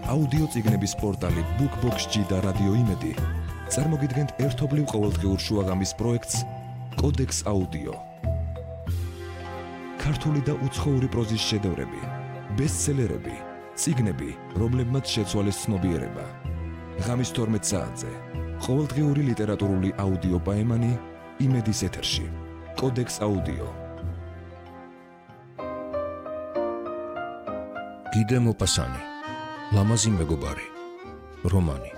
აუდიო წიგნების პორტალი BookBox-ი და რადიო იმედი წარმოგიდგენთ ერთობლივ ყოველდღიურ შუაღამის პროექტს კოდექს აუდიო. ქართული და უცხოური პროზის შედევრები, ბესტსელერები, წიგნები, რომლებმაც შეცვალეს ცნობიერება. ღამის 12 საათზე ყოველდღიური ლიტერატურული აუდიო პაემანი იმედის ეთერში. კოდექს აუდიო. გიდე მოპასანი, ლამაზი მეგობარი, რომანი.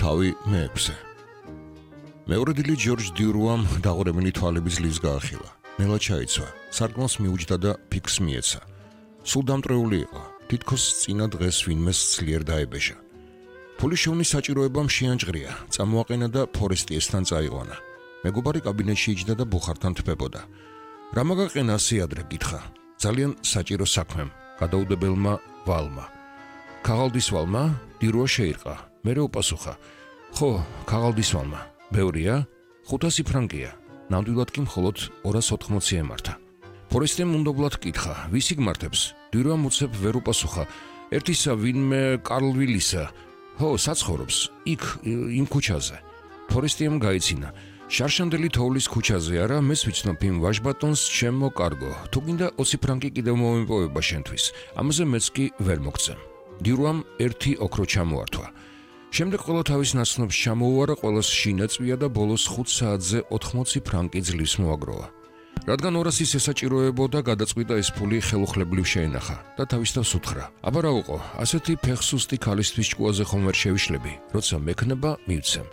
თავი მეექვსე. მეორე დილით ჯორჯ დიურუამ დაღურებული თვალების ძლივს გაახილა. ნელა ჩაიცვა, სარკმელს მიუჯდა და ფიქს მიეცა. სულ დამტრეული იყო, თითქოს წინა დღეს ვინმეს ძლიერ დაებეშა. ფულის შოვნის საჭიროებამ შეანჭღრია, წამოაყენა და ფორესტიესთან წაიყვანა. მეგობარი კაბინეტში იჯდა და ბუხართან თბებოდა. რა მაგაყენა ასე ადრე გითხრა? ძალიან საჭირო საქმემ, გადაუდებელმა ვალმა. ქაღალდის ვალმა? დირუა შეირყა. მერე უპასუხა. ხო, ქაღალდის ვალმა. ბევრია? 500 ფრანკია. ნამდვილად კი მხოლოდ 280 ემართა. ფორესტემ უნდობლად კითხა, ვის იგმართებს? დირუამ უცებ ვერ უპასუხა. ერთისა ვინმე კარლვილისა. ხო, საცხოვრობს, იქ, იმ ქუჩაზე. ფორესტემ გაიცინა. შარშანდელი თოვლის ქუჩაზე არა, მეს ვიცნობ იმ ვაჟბატონს ჩემო კარგო. თუ გინდა 20 ფრანკი კიდევ მომიპოვება შენთვის. ამაზე მეც კი ვერ მოგწემ. დირუამ ერთი ოქრო ჩამოართვა. შემდეგ ყველა თავის ნაცნობს ჩამოუარა, ყველას შინაწვია და ბოლოს 5 საათზე 80 ფრანკი ძლივს მოაგროვა. რადგან 200 ესაჭიროებოდა, გადაწყვიტა ეს ფული ხელუხლებლივ შეენახა და თავისთავს უთხრა. აბა რა უყო, ასეთი ფეხსუსტი ქალისთვის ჭკუაზე ხომ ვერ შევიშლები, როცა მექნება მივცემ.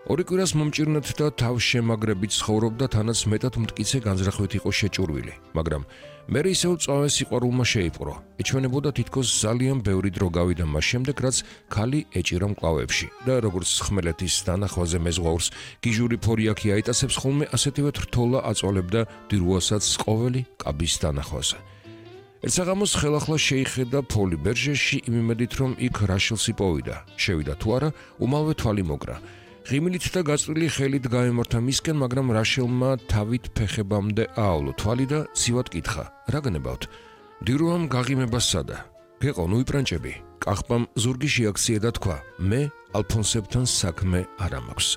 ორი კვირას მომჭირნეთ და თავს შემაგრებით ცხოვრობდა, თანაც მეტად მტკიცე განზრახვით იყო შეჭურვილი, მაგრამ მერე ისევ წავე სიყვარულმა შეიპყრო. ეჩვენებოდა თითქოს ძალიან ბევრი დრო გავიდა მას შემდეგ, რაც ქალი ეჭირა მკლავებში და როგორც ხმელეთის დანახვაზე მეზღვაურს გიჟური ფორიაქი აიტაცებს ხოლმე, ასეთივე რთოლა აწვალებდა დირუასაც ყოველი კაბის დანახვაზე. ერთ საღამოს ხელახლა შეიხედა ფოლი ბერჟეში იმ იმედით, რომ იქ რაშელს იპოვიდა. შევიდა თუ არა, უმალვე თვალი მოკრა. ღიმილით და გაწვრილი ხელით გაემართა მისკენ, მაგრამ რაშელმა თავით ფეხებამდე აავლო თვალი და ცივად კითხა. რა გნებავთ? დირუამ გაღიმება სადა. გეყო, ნუ იპრანჭები. კახპამ ზურგი შეაქცია და თქვა, მე ალფონსებთან საქმე არ მაქვს.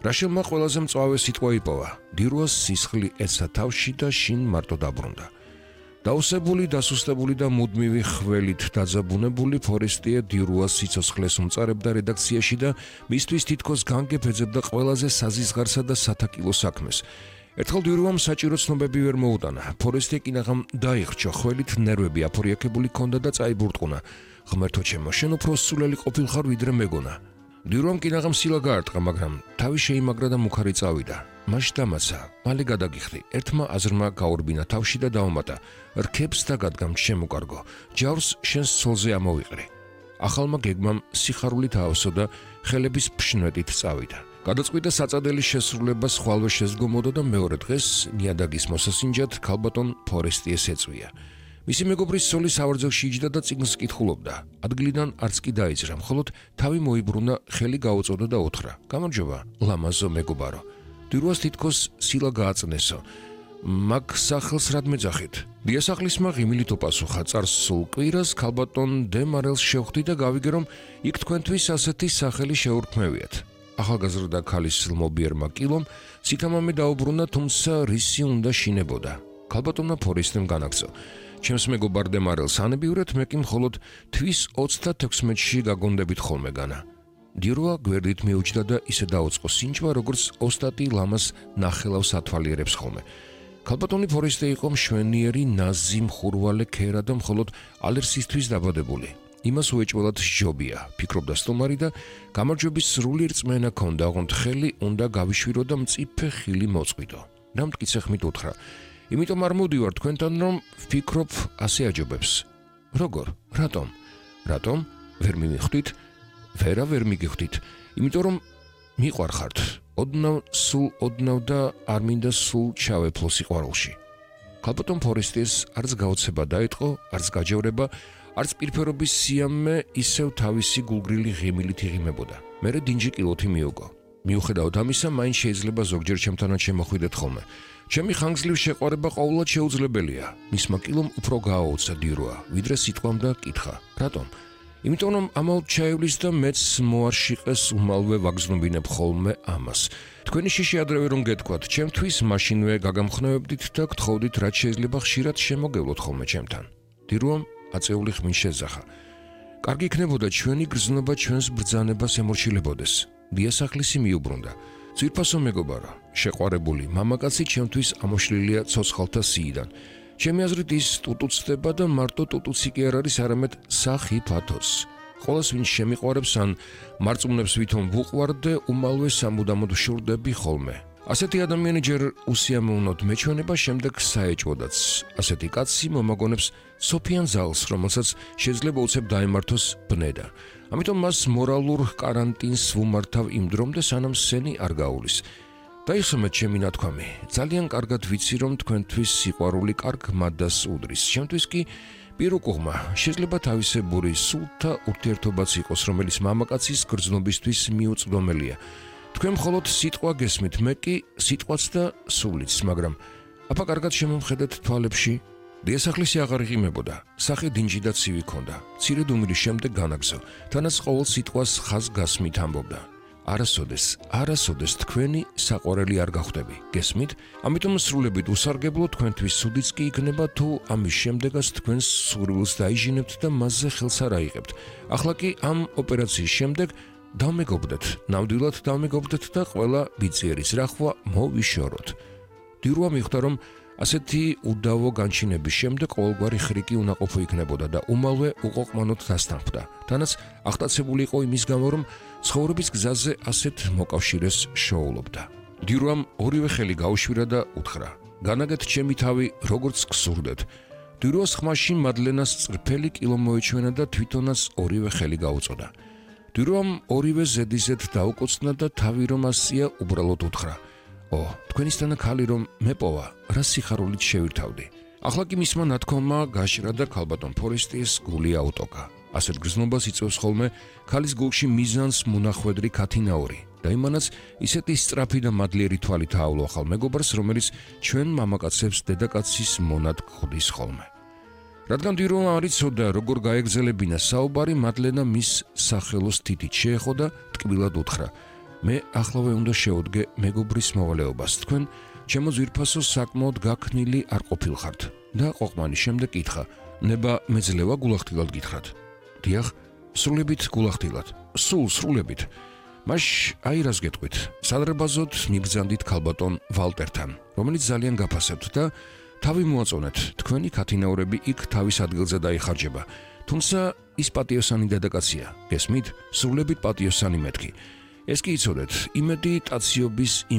რაშელმა ყველაზე მწვავე სიტყვა იპოვა. დირუას სისხლი ეცა თავში და შინ მარტო დაბრუნდა. დაუსებული, დასუსტებული და მუდმივი ხველით დაძაბუნებული, ფორესტია დირუას სიცოცხლეს უმწარებდა რედაქციაში და მისთვის თითქოს განგებ ეძებდა ყველაზე საზისღარსა და სათაკილო საქმეს. ერთხელ დირუამ საჭირო ცნობები ვერ მოუტანა. ფორესტია კინაღამ დაიხრჩა, ხველით ნერვები აფორიაქებული ჰქონდა და წაიბურტყუნა. ღმერთო ჩემო, შენ უფრო სულელი ყოფილხარ ვიდრე მეგონა. დირუამ კინაღამ სილა გაარტყა, მაგრამ თავი შეიმაგრა და მუქარი წავიდა. მაშ დამაცა, მალე გადაგიხდი. ერთმა აზრმა გაურბინა თავში და დაუმატა. რქებს დაგადგამ ჩემო კარგო, ჯავს შენს ცოლზე ამოვიყრი. ახალმა გეგმამ სიხარულით აავსო და ხელების ფშნეტით წავიდა. გადაწყვიტა საწადელის შესრულება სხვალვე შეზგომოდა და მეორე დღეს ნიადაგის მოსასინჯად ქალბატონ ფორესტიეს ეწვია. მისი მეგობრის ცოლი სავარძელში იჯდა და წიგნს კითხულობდა. ადგილიდან არც კი დაიძრა, მხოლოდ თავი მოიბრუნა, ხელი გაუწოდა და უთხრა. გამარჯობა, ლამაზო მეგობარო. დირუას თითქოს სილა გააწნესო. მაგ სახელს რად მეძახით? დიასახლისმა ღიმილით უპასუხა. წარსულ კვირას ქალბატონ დე მარელს შევხვდი და გავიგე, რომ იქ თქვენთვის ასეთი სახელი შეურქმევიათ. ახალგაზრდა ქალის ლმობიერმა კილომ სითამამე დაუბრუნა, თუმცა რისი უნდა შინებოდა. ქალბატონმა ფორესტემ განაგრძო. ჩემს მეგობარ დე მარელს ანებიურეთ, მე კი მხოლოდ თვის 36-ში გაგონდებით ხოლმე განა. დირუა გვერდით მიუჯდა და ისე დაუწყო სინჯვა, როგორც ოსტატი ლამას ნახელავს ათვალიერებს ხოლმე. ქალბატონი ფორესტე იყო მშვენიერი, ნაზი, მხურვალე ქერა და მხოლოდ ალერსისთვის დაბადებული. იმას უეჭველად სჯობია, ფიქრობდა სტუმარი და გამარჯვების სრული რწმენა ჰქონდა, ოღონდ ხელი უნდა გავიშვირო და მწიფე ხილი მოწყვიტო. რა მტკიცე ხმით უთხრა. იმიტომ არ მოვდივარ თქვენთან, რომ ვფიქრობ ასე აჯობებს. როგორ? რატომ? რატომ? ვერ მიმიხვდით? ვერ მიგიხვდით. იმიტომ რომ მიყვარხართ. ოდნავ და არ მინდა სულ ჩავეფლო სიყვარულში. ქალბატონ ფორესტიეს არც გაოცება დაიწყო, არც გაჯევრება, არც პირფერობის სიამე, ისევ თავისი გულგრილი ღიმილით იღიმებოდა. მერე დინჯი კილოთი მიუგო. მიუხედავად ამისა, მაინც შეიძლება ზოგჯერ ჩემთანაც შემოხვიდეთ ხოლმე. ჩემი ხანგრძლივი შეყვარება ყოველად შეუძლებელია. მისმა კილომ უფრო გააუცა დირუა, ვიდრე სიტყვამ და კითხა. რატომ? იმიტომ რომ ამაოდ ჩაივლის და მეც მოარშიყეს უმალვე ვაგზნობინებ ხოლმე ამას. თქვენი შიში ადრევე რომ გეთქვათ, ჩემთვის მაშინვე გაგამხნევებდით და გთხოვდით რაც შეიძლება ხშირად შემოგევლოთ ხოლმე ჩემთან. დირუამ აწეული ხმის შეძახა. კარგი იქნებოდა ჩვენი გრძნობა ჩვენს ბრძანებას ემორჩილებოდეს. დიასახლისი მიუბრუნდა. ძვირფასო მეგობარო, შეყვარებული მამაკაცი ჩემთვის ამოშლილია ცოცხალთა სიიდან. ჩემი აზრით ის ტუტუცდება და მარტო ტუტუცი კი არ არის, არამედ სახი ფათოს. ყოველს ვინც შემიყვარებს ან მარწმუნებს ვითომ ვუყვარდ და უმალვე სამუდამოდ ვშურდები ხოლმე. ასეთი ადამიანი ჯერ უსიამოვნოდ მეჩვენება, შემდეგ საეჭვოდაც. ასეთი კაცი მომაგონებს სოფიან ზალს, რომელსაც შეიძლება უცებ დაემართოს ბნედა. ამიტომ მას მორალურ კარანტინს ვუმართავ იმ დრომდე, სანამ სენი არ გაუვლის. დაიხსომეთ ჩემი ნათქვამი. ძალიან კარგად ვიცი, რომ თქვენთვის სიყვარული კარგ მადას უდრის. ჩემთვის კი პირუკუღმა შეიძლება თავისებური სულთა ურთიერთობაც იყოს, რომელიც მამაკაცის გრძნობისთვის მიუწვდომელია. თქვენ მხოლოდ სიტყვა გესმით, მე კი სიტყვაც და სულიც, მაგრამ აბა კარგად შემომხედეთ თვალებში. დიასახლისი აღარ იღიმებოდა. სახე დინჯი და ცივი ქონდა. მცირედ უმირის შემდეგ განაგზო. თანაც ყოველ სიტყვას ხაზგასმით ამბობდა. არასოდეს თქვენი საყვარელი არ გახვდები. გესმით? ამიტომ სრულებით უსარგებლო თქვენთვის სუდიც კი იქნება, თუ ამის შემდეგაც თქვენს სურვილს დაიჟინებთ და მასზე ხელს არ აიღებთ. ახლა კი ამ ოპერაციის შემდეგ დავმეგობრდეთ, ნამდვილად დავმეგობრდეთ და ყველა ბიწიერის რახვა მოვიშოროთ. დირუა მიხვდა, რომ ასეთი უდავო განჩინების შემდეგ ყოველგვარი ხრიკი უნაყოფო იქნებოდა და უმალვე უყოყმანოდ დასთანხმდა. თანაც აღტაცებული იყო იმის გამო, რომ ცხოვრების გზაზე ასეთ მოკავშირეს შოულობდა. დირუამ ორივე ხელი გაუშვირა და უთხრა: განაგეთ ჩემი თავი, როგორც გსურდეთ. დირუას ხმაში მადლენას წრფელი კილო მოეჩვენა და თვითონაც ორივე ხელი გაუწოდა. დირუამ ორივე ზედიზედ დაუკოცნა და თავი რომ ასწია, უბრალოდ უთხრა: თქვენისთანა ქალი რომ მეპოვა, რა სიხარულით შევირთავდი. ახლა კი მისმა ნათქვამმა გაშრა და ქალბატონ ფორესტიეს გული აუტოკა. ასეთ გრძნობას იწევს ხოლმე ქალის გულში მიზანს მონახვედრი ქათინაური და იმანაც ისეთი სწრაფი და მადლიერი თვალით აავლო ახალ მეგობარს, რომელიც ჩვენ მამაკაცებს დედაკაცის მონად გხდის ხოლმე. რადგან დირუამ არ იცოდა როგორ გაეგზელებინა საუბარი, მადლენა მის სახელოს თითით შეეხო და ტკბილად უთხრა: მე ახლავე უნდა შევდგე მეგობრის მოვალეობას. თქვენ ჩემო ძვირფასო საკმაოდ გაქნილი არ ყოფილხართ და ყოყმანის შემდეგ კითხა: ნება მეძლევა გულახდილად გითხრათ? დიახ, სრულებით გულახდილად. სრულებით. მაშ აი რას გეტყვით. სადრებაზოდ მიბრძანდით ქალბატონ ვალტერთან, რომელიც ძალიან გაფასებთ და თავი მოაწონეთ. თქვენი ქათინაურები იქ თავის ადგილზე დაიხარჯება. თუმცა ის პატიოსანი დედაკაცია. გესმით? სრულებით პატიოსანი მეთქი. ეს კი იცოდეთ, იმედი ტაციობის